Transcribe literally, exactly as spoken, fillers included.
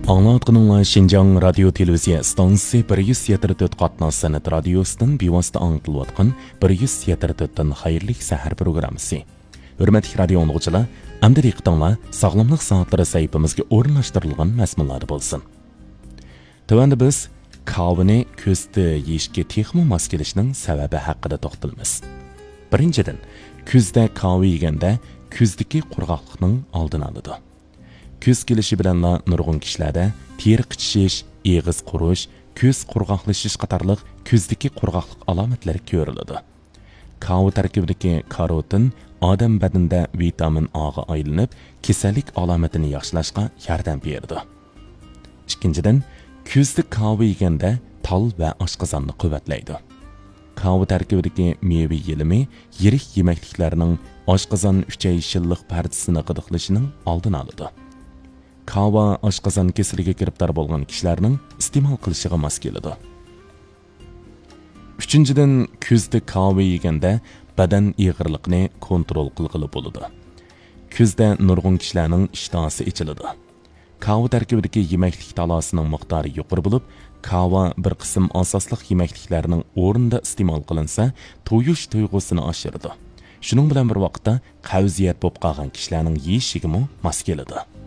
ئاڭلاۋاتقىنىڭلار شىنجاڭ رادىيو تېلېۋىزىيە ئىستانسىسى بىر يۈز يەتتە تۆت قاتناش سەنئەت رادىيوسىدىن بىۋاسىتە ئاڭلىتىلىۋاتقان بىر يۈز يەتتە تۆتتىن خەيرلىك سەھەر پروگراممىسى. ھۆرمەتلىك رادىيو ئاڭلىغۇچىلار، ئەمدى دىققىتىڭلار ساغلاملىق سائەتلىرى سەھىپىمىزگە ئورۇنلاشتۇرۇلغان مەزمۇنلاردا بولسۇن. تۆۋەندە بىز كاۋىنى كۈزدە يېيىشكە تېخىمۇ ماس كېلىشنىڭ سەۋەبى ھەققىدە توختىلىمىز. بىرىنچىدىن، كۈزدە كاۋا يېگەندە كۈزدىكى قۇرغاقلىقنىڭ ئالدىنى ئالىدۇ. كۈز كېلىشى بىلەنلا نۇرغۇن كىشىلەردە تېرە قىچىشىش، ئېغىز قۇرۇش، كۆز قۇرغاقلىشىش قاتارلىق كۈزدىكى قۇرغاقلىق ئالامەتلىرى كۆرۈلىدۇ. كاۋا تەركىبىدىكى كاروتىن ئادەم بەدىنىدە ۋىتامىن ئاغا ئايلىنىپ، كېسەللىك ئالامىتىنى ياخشىلاشقا ياردەم بېرىدۇ. ئىككىنچىدىن، كۈزدە كاۋا يېگەندە تال ۋە ئاشقازاننى قۇۋۋەتلەيدۇ. كاۋا تەركىبىدىكى مېۋە يېلىمى يىرىك يېمەكلىكلەرنىڭ ئاشقازان ئۈچەي شىللىق پەردىسىنى غىدىقلىشىنىڭ ئالدىنى ئالىدۇ. كاۋا ئاشقازان كېسىلىگە گىرىپتار بولغان كىشىلەرنىڭ ئىستېمال قىلىشىغا ماس كېلىدۇ. ئۈچىنچىدىن، كۈزدە كاۋا يېگەندە بەدەن ئېغىرلىقىنى كونترول قىلغىلى بولىدۇ. كۈزدە نۇرغۇن كىشىلەرنىڭ ئىشتىھاسى ئېچىلىدۇ. كاۋا تەركىبىدىكى يېمەكلىك تالاسىنىڭ مىقدارى يۇقىرى بولۇپ، كاۋا بىر قىسىم ئاساسلىق يېمەكلىكلەرنىڭ ئورنىدا ئىستېمال قىلىنسا، تويۇش تۇيغۇسىنى ئاشۇرىدۇ. شۇنىڭ بىلەن بىر ۋاقىتتا، قەۋزىيەت بولۇپ قالغان كىشىلەرنىڭ يېيىشىگىمۇ ماس كېلىدۇ.